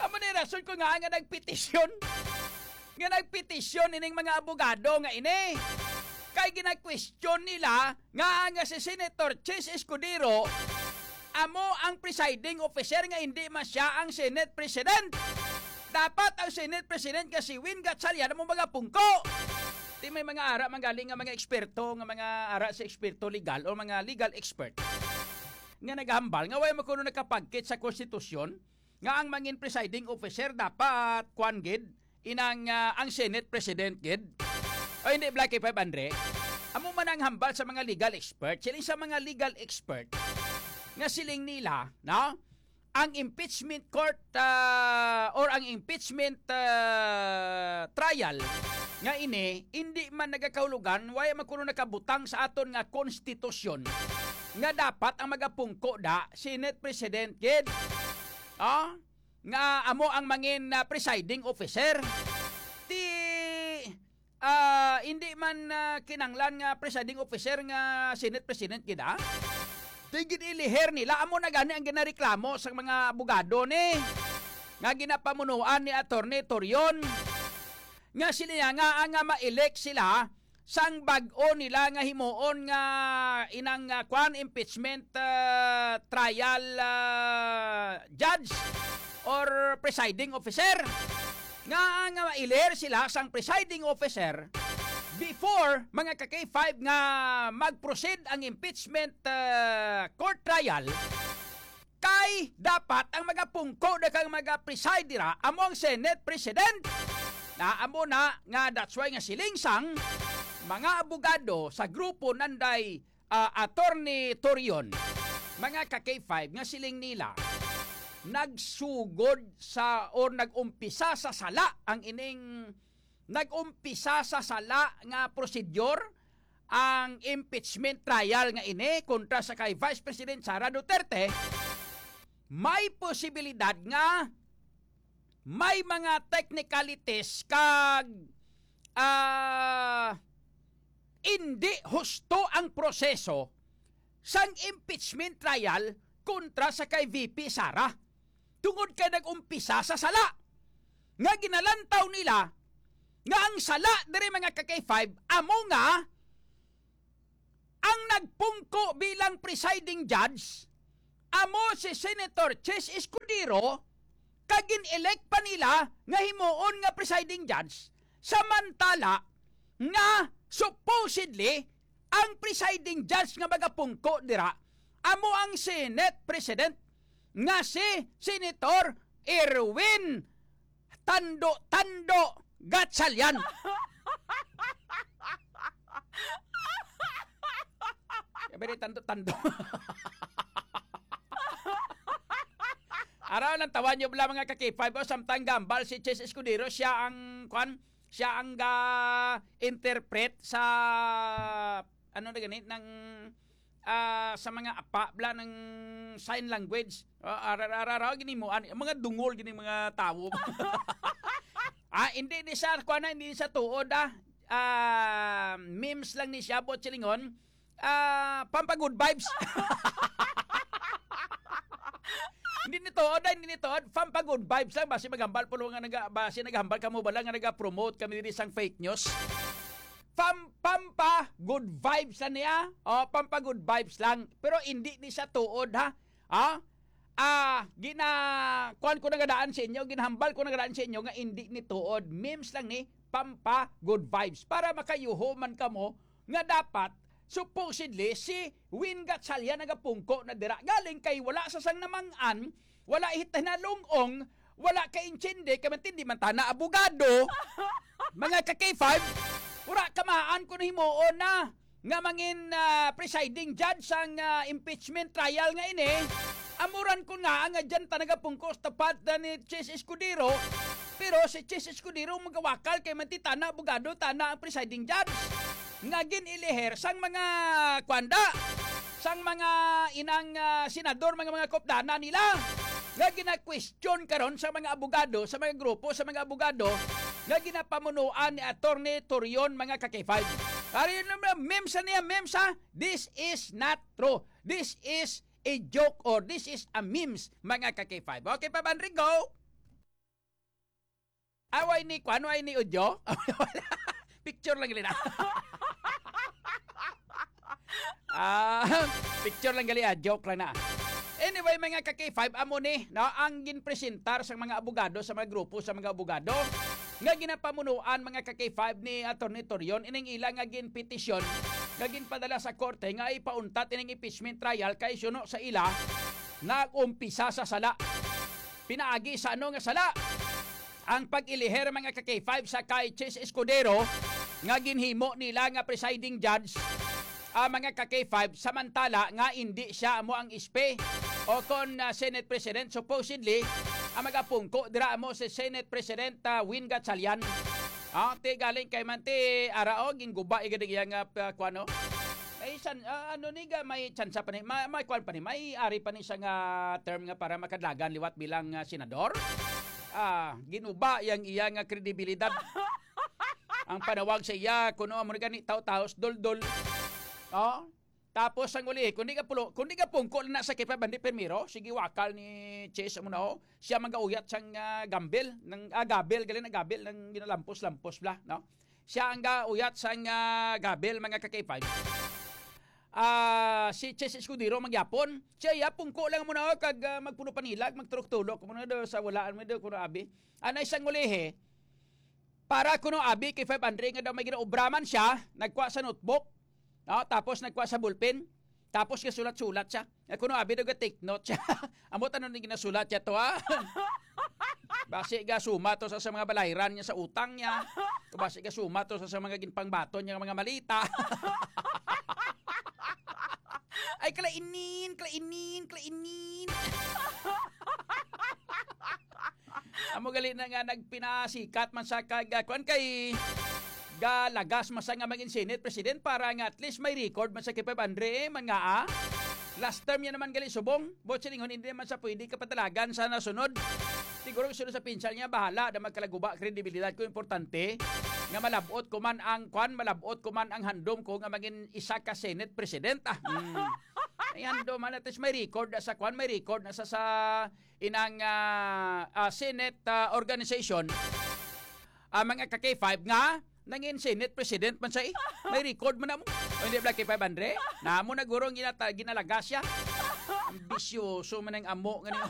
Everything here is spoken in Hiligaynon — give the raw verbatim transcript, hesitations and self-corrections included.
Amo ni rason ko nga, nga nagpetisyon. Nga nagpetisyon ining mga abogado nga ini. Kay gina-question nila nga, nga si Senator Chiz Escudero amo ang presiding officer, nga hindi man siya ang Senate President. Dapat ang Senate President nga si Win Gatchalian amo magapungko. Ti may mga ara man gali nga mga eksperto, nga mga ara sa eksperto legal o mga legal expert nga naghambal nga way man kuno nakapagkit sa konstitusyon nga ang mangin presiding officer dapat kwan gid, inang, ah, ang Senate President gid. O hindi, Black K five Andre? Amo man ang hambal sa mga legal expert. Siling sa mga legal expert nga siling nila, no? Ang impeachment court, ah, or ang impeachment, ah, trial nga ini, hindi man nagakahulugan, wala man kuno nakabutang sa aton nga konstitusyon nga dapat ang magapungko da Senate President gid. Ah? Nga amo ang mangin, ah, presiding officer. Ti, ah, hindi man, ah, kinanglan nga presiding officer nga Senate President gid, ah. Ti gid iliher nila, amo na gani ang ginareklamo sang mga abogado ni nga ginapamunuan ni Attorney Torion. Nga sila nga, nga ma-elect sila sang bag-o nila nga himuon nga inang, ah, kwan, impeachment, ah, trial, ah, judge or presiding officer. Nga, nga ma-elect sila sang presiding officer before, mga ka-K five, nga mag-proceed ang impeachment, ah, court trial. Kay dapat ang magapungko na kang magapreside dira amo ang Senate President. Na amo na nga, that's why nga siling sang mga abogado sa grupo nanday, ah, Attorney Torion, mga ka-K five, nga siling nila nagsugod sa or nag-umpisa sa sala ang ining nag-umpisa sa sala nga prosedur ang impeachment trial nga ini kontra sa kay Vice President Sara Duterte, may posibilidad nga may mga technicalities kag, ah, indi husto ang proseso sang impeachment trial kontra sa kay V P Sara. Tungod kay nag-umpisa sa sala nga ginalantaw nila nga ang sala diri, mga ka-K five, amo nga ang nagpungko bilang presiding judge amo si Senator Chiz Escudero, kag gin-elect pa nila nga himuon nga presiding judge, samantala nga supposedly ang presiding judge nga magapungko dira amo ang Senate President nga si Senator Erwin Tando Tando Gatchalian. Sabi ni Tando Tando. Araw lang, tawan nyo bala, mga ka-K five, o, samtang gambal si Chiz Escudero, siya ang, kwan, siya ang ga-interpret sa, ano na gani, ng, ah, sa mga apa bala ng sign language. Ah, ara, ara, ara, ginimuan, ang mga dungol gini mga tawo. Ah, hindi ni siya, kuwan na, hindi ni siya tuod, ah. Ah, memes lang ni siya, buot silingon. Ah, pampa-good vibes. Hindi ni tuod, ah, hindi ni tuod. Pampa-good vibes lang. Basi maghambal po nga naga, basi naghambal kamo bala nga naga-promote kami diri sang fake news. Pam, pampa-good vibes lang niya. O, pampa-good vibes lang. Pero hindi ni siya tuod, ha? Ha? Ah, gina, kuwan ko nagadaan sa inyo, ginhambal ko nagadaan sa inyo nga hindi ni tuod. Memes lang ni, pampa-good vibes. Para makayuho man kamo nga dapat, supposedly, si Win Gatchalian nagapungko na dira. Galing kay wala sa sang namang-an, wala hit hinalung-ong, wala ka-intindi, kay mantindi man tana abogado, mga ka-K five, wala kamaan ko na himuon na nga mangin, ah, presiding judge sang, ah, impeachment trial nga ini. Amuran ko nga nga dyan ta nagapungkos tapad na ni Chiz Escudero. Pero si Chiz Escudero magawakal kay manti tana abogado, tana ang presiding judge nga gin-iliher sang mga kwanda, sang mga inang, ah, senador, mga, mga kopdana nila nga gina-question karon sa mga abogado, sa mga grupo, sa mga abogado nga ginapamunuan ni Attorney Torion, mga ka-K five. Ari naman, memes sa niya, memes, ha? This is not true. This is a joke or this is a memes, mga ka-K five. Okay, Pabandri, go! Away ni, kuan, away ni audio? Picture lang gali na. Ah, picture lang gali, ah, joke lang na. Anyway, mga ka-K five, amo ni, no, ang ginpresentar sa mga abogado, sa mga grupo sa mga abogado nga ginapamunuan, mga ka-K five, ni Attorney Torion, ining ila nga ginpetisyon nga ginpadala sa korte nga ipauntat ining impeachment trial kay suno sa ila nag-umpisa sa sala. Pinaagi sa ano nga sala? Ang pag-iliher, mga ka-K five, sa kay Chis Escudero nga ginhimo nila nga presiding judge, ah, mga ka-K five, samantala nga indi siya amo ang S P o kon, ah, Senate President. Supposedly, ang magapungko dira amo si Senate President, ah, Win Gatchalian. Ah, ti galing kay man ti ara, oh, ginguba igad iya nga, ah, kuan, oh. May san-, ah, ano ni ga, may tsansa pa ni, ma-, may kuan pa ni, may ari pa ni siya nga term nga para makadlagan liwat bilang, ah, senador. Ah, ginuba yang iya nga kredibilidad. Ang panawag sa iya, kuno amo ni gani, taw-taos, dol-dol. Oh. Tapos ang uli, kundi ka pulo, kundi ka pungko na sa K five Bandi primero, sige, wakal ni Chase amo na, oh. Siya magauyat sang, ah, gambil, ng, ah, gabil, galing na gabil, ng ginalampos-lampos bla, no? Siya ang gauyat sang, ah, gabil, mga ka-K five. Ah, si Chase Escudero magyapon. Siya iya, pungko lang mo na, oh, kag, ah, magpuno panilag, magturok-tulok mo na do sa walaan mo do, kuno abi. Anay sang ulihi, para kuno abi kay five hundred nga daw may ginaobra man siya, nagkuha sa notebook, no? Tapos nagkuha sa ballpen, tapos gasulat-sulat siya. Nga kuno abi daw ga-take note siya. Amo tanon ni ginasulat siya to, ha? Basi ga suma to sa, sa mga balayran niya sa utang niya. Basi ga suma to sa, sa mga ginpangbaton niya nga mga malita. Ay, kalainin, kalainin, kalainin. Amo gali na nga nagpinasikat man sa kag, ah, kuan kay galagas man sa nga maging Senate President para nga at least may record man sa kay Pep Andre, eh, man nga, ah. Last term niya naman gali subong, but silingon hindi naman sa pwede kapadalagan sa nasunod. Siguro gusto sa pinsal niya, bahala na magkalaguba kredibilidad ko, importante nga malabot ko man ang kuan, malabot ko man ang handom ko nga maging isa ka Senate President. Ah, hmm. Ay, handom man, at least may record na sa kuan, may record na sa, sa inang, ah, ah, Senate, ah, organization, ah, mga ka-K five nga nangin Senate President man siya, eh. May record man na mo. O, hindi bala K five Andre? Namo na guro ang ginata-, ginalagas siya. Ambisyoso man ang amo nga niyo.